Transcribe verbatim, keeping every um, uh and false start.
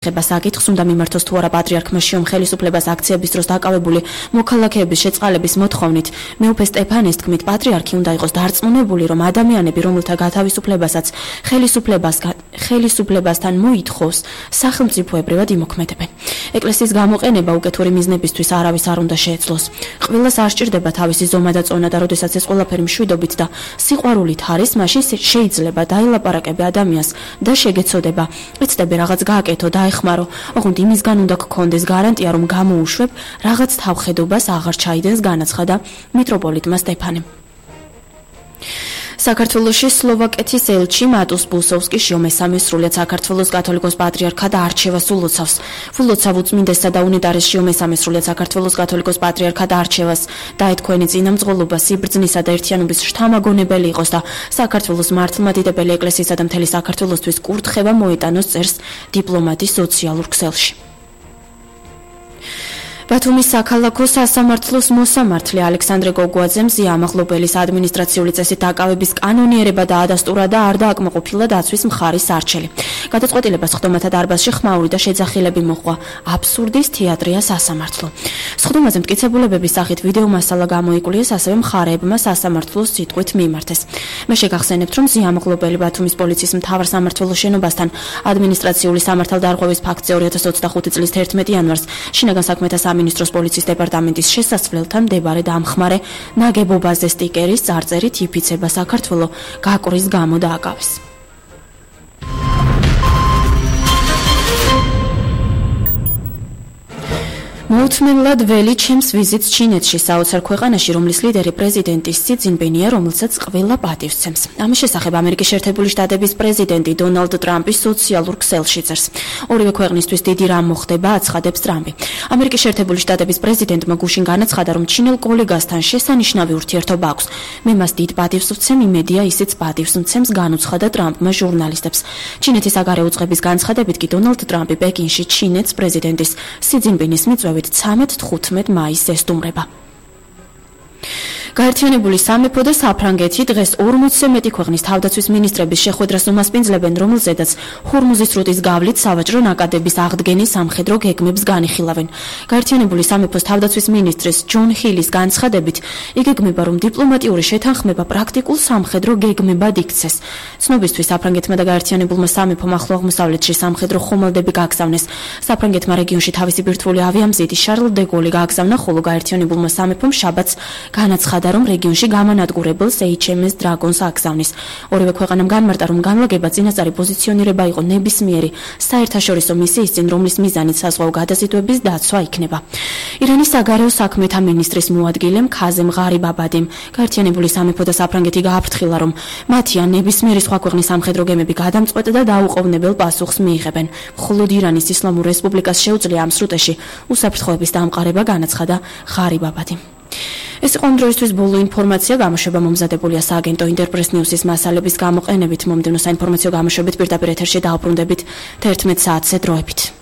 ხება საკითხს უნდა მიმართოს თუ არა პატრიარქმა შიომ ხელისუფლებას აქციების დროს დაკავებული მოქალაქეების შეწყალების მოთხოვნით. მეუფე სტეფანეს თქმით, პატრიარქი უნდა იყოს დარწმუნებული, რომ ადამიანები, რომელთა გათავისუფლებასაც ხელისუფლებასგან ხელისუფლებასთან მოითხოვს, სახელმწიფოებრივად იმოქმედებენ. ეკლესიის გამოყენება უკეთური მიზნებისთვის არავის არ უნდა შეეძლოს. ყველას არ სჭირდება თავისი ზომა და წონა და როდესაც ეს ყველაფერი მშვიდობით და სიყვარულით არის, მაშინ შეიძლება დაელაპარაკებე ადამიანს და შეგეცოდება. ეცდები რაღაც გააკეთო და ეხმარო, ოღონდ იმისგან უნდა გქონდეს გარანტია, რომ გამოუშვებ, რაღაც თავხედობას აღარ ჩაიდენს, განაცხადა მიტროპოლიტმა სტეფანემ. საქართველოში სლოვაკეთის ელჩი მატუს ბუსოვსკი მესამე სრულიად საქართველოს კათოლიკოს პატრიარქად არჩევას ულოცავს. ულოცავ უწმინდესსა და უნეტარეს მესამე სრულიად საქართველოს კათოლიკოს პატრიარქად არჩევას დაეთქვენი წინამძღოლობა სიბრძნისა და ერთიანობის შთამაგონებელი იყოს და საქართველოს მართლმადიდებელი ეკლესიისა და მთელი საქართველოსთვის კურთხევა მოეტანოს წერს დიპლომატი სოციალურ ქსელში. ბათუმის საქალაქო სასამართლოს მოსამართლე ალექსანდრე გოგუაძემ ზიამაღლობელის ადმინისტრაციული წესით დაკავების კანონიერება დაადასტურა და არ დააკმაყოფილა დაცვის მხარის არჩელი. გადაწყვეტილებას ხდომათა დარბაზში ხმაური და შეძახილები მოჰყვა. აბსურდის თეატრია სასამართლო. სხდომაზე მტკიცებულებების სახით ვიდეო მასალა გამოიკვლიეს, ასევე მხარეებმა სასამართლოს სიტყვით მიმართეს. მე შეგახსენებთ, რომ ზიამაღლობელი ბათუმის პოლიციის მთავარ სამმართველოს შენობასთან ადმინისტრაციული სამართალდარღვევის ფაქტზე ორი ათას ოცდახუთი წლის თერთმეტი იანვარს შინაგან საქმეთა სამინისტროს პოლიციის დეპარტამენტის შესასვლელთან მდებარე დამხმარე ნაგებობაზე სტიკერის წარწერით იფიცება საქართველო გაკვრის გამო დააკავეს. მოუთმენლად ველი ჩემს ვიზიტს ჩინეთში, საოცარ ქვეყანაში, რომლის ლიდერი პრეზიდენტი სი ძინპინია, რომელსაც ყველა პატივს სცემს. ამის შესახებ ამერიკის შეერთებული შტატების პრეზიდენტი დონალდ ტრამპი სოციალურ ქსელში წერს. ორივე ქვეყნისთვის დიდი რამ მოხდება, აცხადებს ტრამპი. ამერიკის შეერთებული შტატების პრეზიდენტმა გუშინ განაცხადა, რომ ჩინელ კოლეგასთან შესანიშნავი ურთიერთობა აქვს. მე მას დიდ პატივს ვცემ, იმედია ისიც პატივს მცემს, განუცხადა ტრამპმა ჟურნალისტებს. ჩინეთის საგარეო უწყების განცხადებით კი დონალდ ტრამპი პეკინში ჩინეთის პრეზიდენტის სი ძინპინის მიწვევით ცამეტ თხუთმეტ მაისს ესტუმრება. გაერთიანებული სამეფო და საფრანგეთი დღეს ორმოცზე მეტი ქვეყნის თავდაცვის მინისტრების შეხვედრას უმასპინძლებენ, რომელზედაც ჰორმუზის სრუტის გავლით სავაჭრო ნაკადების აღდგენის სამხედრო გეგმებს განიხილავენ. გაერთიანებული სამეფოს თავდაცვის მინისტრის ჯონ ჰილის განცხადებით, იგეგმება, რომ დიპლომატიური შეთანხმება პრაქტიკულ სამხედრო გეგმებად იქცეს. ცნობისთვის საფრანგეთმა და გაერთიანებულმა სამეფომ ახლო აღმოსავლეთში სამხედრო ხომალდები გააგზავნეს. საფრანგეთმა რეგიონში თავისი ბირთვული ავიამზიდი შარლ დე გოლი გააგზავნა, ხოლო გაერთიანებულმა სამეფომ შაბათს განაცხადა, რომ რეგიონში გამანადგურებელს ეიჩ ემ ეს დრაგონს აგზავნის. ორივე ქვეყანამ განმარტა, რომ განლაგება წინასწარი პოზიციონირება იყო ნებისმიერი საერთაშორისო მისიის წინ, რომლის მიზანით საზღვაო გადაზიდვების დაცვა იქნება. ირანის საგარეო საქმეთა მინისტრის მოადგილემ ქაზემ ღარიბაბადიმ გაერთიანებული სამეფო და საფრანგეთი გააფრთხილა, რომ მათი ან ნებისმიერი სხვა ქვეყნის სამხედრო გემები გადამწყვეტ და დაუყოვნებელ პასუხს მიიღებენ. მხოლოდ ირანის ისლამურ რესპუბლიკას შეუძლია ამ სრუტეში უსაფრთხოების დამყარება, განაცხადა ღარიბაბადიმ. ეს იყო ამ დროისთვის ბოლო ინფორმაცია, გამოშვება მომზადებულია სააგენტო ინტერპრეს ნიუსის მასალების გამოყენებით. მომდევნო საინფორმაციო გამოშვებით პირდაპირ ეთერში დაუბრუნდებით თერთმეტ საათზე დროებით.